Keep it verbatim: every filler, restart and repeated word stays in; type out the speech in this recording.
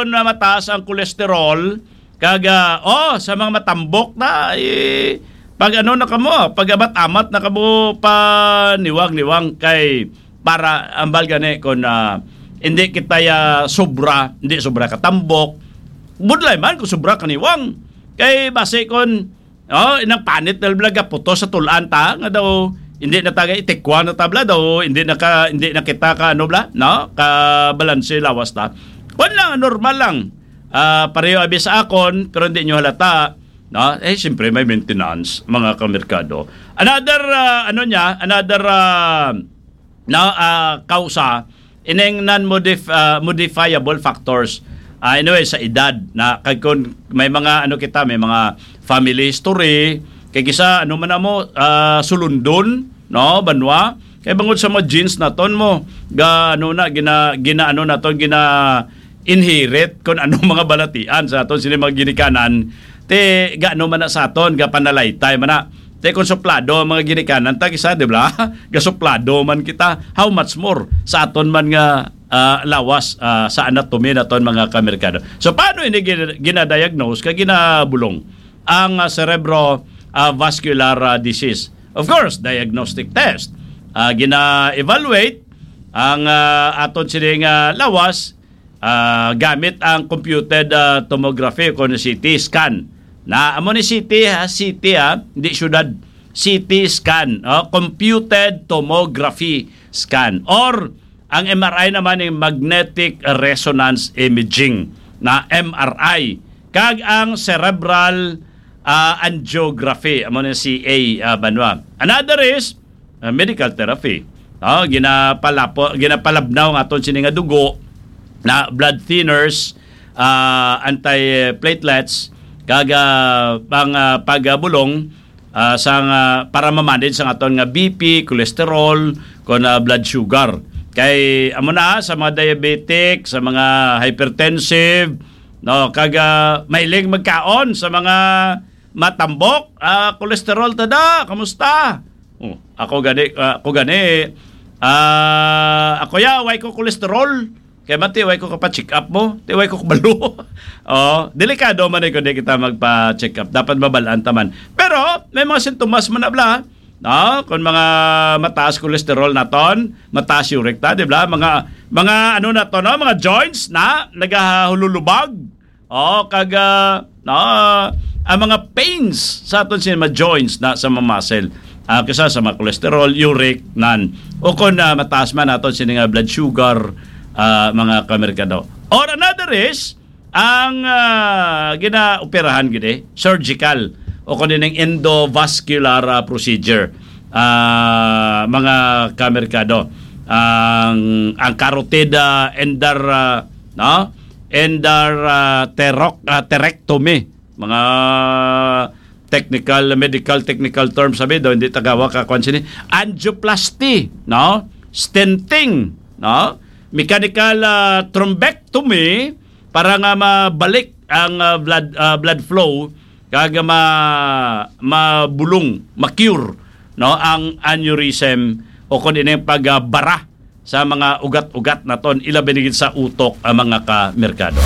na mataas ang cholesterol, kag, ah, oh, sa mga matambok na, eh, pag ano na kamo, pag amat-amat na kamo paniwang-niwang kay para ambal gani kung, ah, hindi kita ya sobra, hindi sobra katambok, budlay man kung sobra kaniwang. Kay basi kung Oh, inang panit na bala gaputos sa tulan ta nga daw hindi na taga itikwa na ta bala daw hindi na ka hindi na kita ka ano bala, no? Ka balanse lawas ta. Kun lang normal lang. Ah, pareho abi sa akon pero hindi nyo halata, no? Eh siyempre may maintenance mga kamerkado. Another ah, ano niya, another ah, no, ah, kausa ining non-modif- ah, modifiable factors. Ah, anyway, sa edad na kag kun may mga ano kita, may mga family history, kay kisa ano man amo ah, sulundon, no, banwa. Kay bangod sa mga genes naton mo, ga ano na gina, gina ano naton gina inherit kung anong mga balatian sa aton sini mga ginikanan, te gaano man na sa aton, ga panalaytay man na. Te kung suplado ang mga ginikanan ta kisa, di ba? Gasuplado man kita. How much more sa aton man nga ah, lawas ah, sa anatomy naton mga kamerkado. So paano ini gin- ginadiagnose kag ginabulong ang ah, cerebro ah, vascular ah, disease? Of course, diagnostic test. Ah, gina-evaluate ang ah, aton sini nga lawas ah, gamit ang computed ah, tomography o kon C T scan. Na amo ni C T ha, C T ha, hindi syudad. C T scan, oh, computed tomography scan, or ang M R I naman yung magnetic resonance imaging na M R I kag ang cerebral ah, angiography amo ni C A ah, banwa. Another is ah, medical therapy. Oh, ginapalapo, ginapalabnaw nga aton sini nga dugo na blood thinners, ah, antiplatelets kag ah, pang ah, pagabulong ah, sang ah, para ma-manage sang aton nga B P, cholesterol, kon ah, blood sugar. Kay amo na sa mga diabetic, sa mga hypertensive, no, kag ah, mahilig magkaon sa mga matambok, ah, cholesterol tada, kamusta? Oh, ako gani, ah, ako gani, ah, ako ya, way ko cholesterol. Kay mati, way ko kapa-check up mo, ti way ko kabalo. Oh, delikado man eh kung di kita magpa-check up. Dapat mabalaan ta man. Pero may mga sintomas man na bala, no? Kung mga mataas cholesterol naton, mataas uric ta, di ba? Mga mga ano na to, no? Mga joints na nagahululubag. Oh, kag ah, no, ang mga pains sa aton sini mga joints na sa mga muscle. Ah, kisa sa mga cholesterol, uric, nan. O kung ah, mataas man aton sini nga blood sugar, ah, mga kamerkado. Or another is ang ah, ginaoperahan gid eh, surgical o kung ining endovascular ah, procedure. Ah, mga kamerkado, ang ang carotid ah, endar ah, no? Endar ah, terok ah, terectomy, mga technical, medical technical terms sabi daw, hindi tagawa ka kwan sini, angioplasty, no? Stenting, no? Mechanical ah, thrombectomy para nga mabalik ang ah, blood ah, blood flow kag ma mabulong, ma-cure, no, ang aneurysm o kon ining pagbara sa mga ugat-ugat naton, ilabi na gid sa utok, ang mga kamerkado.